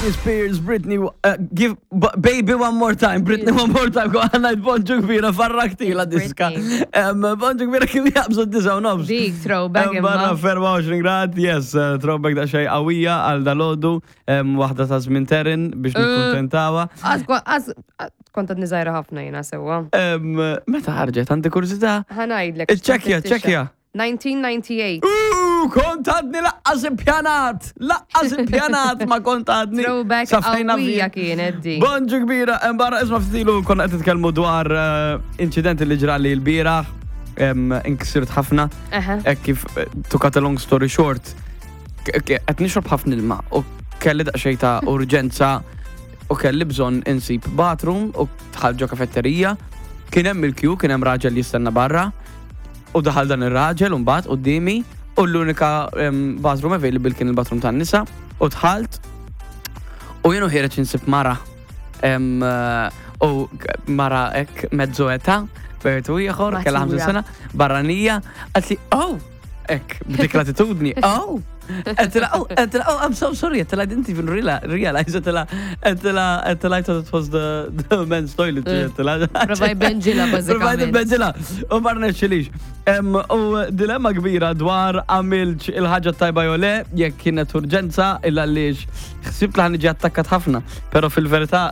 Britney Spears, Britney, uh, give, baby one more time, Britney one more time, għanna bonġu kbira, farrakti la diska. Bonġu kbira kif jabżu d-disa u nofs. Dik, throwback. Barra 24 grad, yes, eh, throwback da xej qawwija għal dalodu, waħda ta' żmien terin biex eh, nikkuntentawa. Kont għadni żgħira ħafna jiena sewwa. Meta ħarġet, għandi kurżità? Ħa ngħidlek. Iċċekkja, ċekkja. 1998. Ooh, kont għadni laqqas impjanat! Laqqas impjanat ma kont għadni. Throwback qawwija kienet di. Bonġu kbira, barra isma' ftilu konna qed nitkellmu dwar eh, inċident li ġrali l-bieraħ, inksirt ħafna. Hekk kif eh, to cut a long story short, qed nixrob ħafna ilma u kelli daqsxejn ta' urġenza u kelli bżonn insib bathroom u dħalt ġo kafetterija. Kien hemm il-kju, kien hemm raġel jistenna barra. U daħal dan ir-raġel mbagħad quddiemi u l-unika bathroom available kien il-bathroom tan-nisa u dħalt u jien u ħiereġ insib mara u mara hekk mezzo età bejt u ieħor kellha 50 sena barranija qaltli oh hekk b'dik l-attitudni oh Għedtilha, oh, għedtilha, oh, I'm so sorry, għedtilha, I didn't even realize, għedtilha, għedtilha, għedtilha, I thought it was the, the men's toilet, eh, għedtilha. Provaj benġila, bazzikament. Provaj benġila, u ma rnexxilix. U dilemma kbira dwar għamilx il-ħaġa tajba jew le, jekk kienet urġenza, illa għaliex ħsibt li ħaniġi attakkat ħafna, pero fil-verità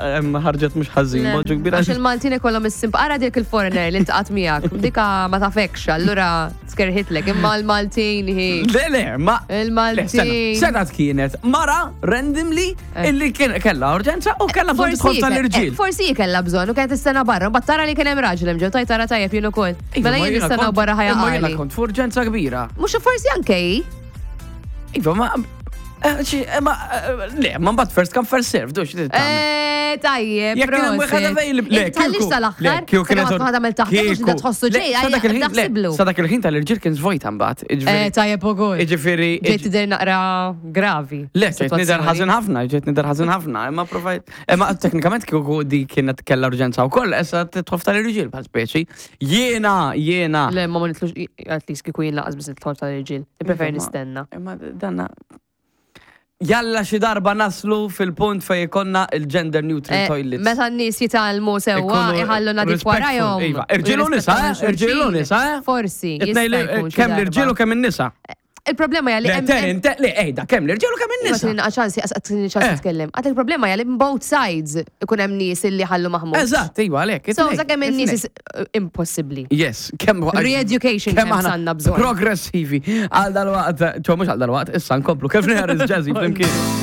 ħarġet mhux ħażin, boġġu kbira. Għax il-Maltin ikollhom is-simp, ara dik il-foreigner li ntqat miegħek, dika ma tafekx, allura Skerħitlek, imma l-Maltin hi. Le, le, ma. Il-Maltin. Setat kienet mara randomly eh. illi kella urġenza u kella bżonn tidħol tal-irġiel. Eh, forsi kella bżonn u kienet istenna barra, mbagħad tara li kien hemm raġel hemm ġew tajt tara tajjeb jien ukoll. Iva, mela jien nistenna barra ħajja. Imma jiena kont f'urġenza kbira. Mhux forsi anke hi. Iva, ma Eh, eh, ma, eh, le, ma mbagħad first come first serve, dux. Eh, tajjeb. Jekk kien hemm wieħed available. Le, tħallix sal-aħħar. Kieku kienet waħda mill taħt mhux inta tħossu ġej, naħsiblu. Sa dak il-ħin tal-irġiel kien żvojta mbagħad. Eh, tajjeb ukoll. Jiġifieri. Ġejt tidher naqra gravi. Le, ġejt nidher ħażin ħafna, ġejt nidher ħażin ħafna, imma provajt. Imma teknikament kieku di kienet kellha urġenza wkoll, issa tidħol tal-irġiel bħal speċi. Jiena, jiena. Le, ma ma nitlux, at least kieku jien laqas biss nidħol tal-irġiel. Nippreferi nistenna. Imma danna. Jalla xi darba naslu fil-punt fejn ikollna il-gender neutral eh, toilets. Meta n-nies jitgħallmu sewwa iħallu nadif warajhom. Iva, irġiel u nisa, eh? irġiel u nisa, eh? Forsi. Kemm l-irġiel u kemm in-nisa. Il-problema hija li hemm. Le, ejda, kemm l-irġiel u kemm in-nisa. Ma ċansi, għatni ċans nitkellem. Għad il-problema hija li both sides ikun hemm nies illi ħallu maħmud. Eżatt, iva għalhekk. So, sakemm in-nies impossibbli. Yes, kemm Re-education kemm għandna bżonn. Progressivi. Għal dal-waqt, ċo mhux għal dal-waqt, issa nkomplu kif Harris Jazzy flimkien.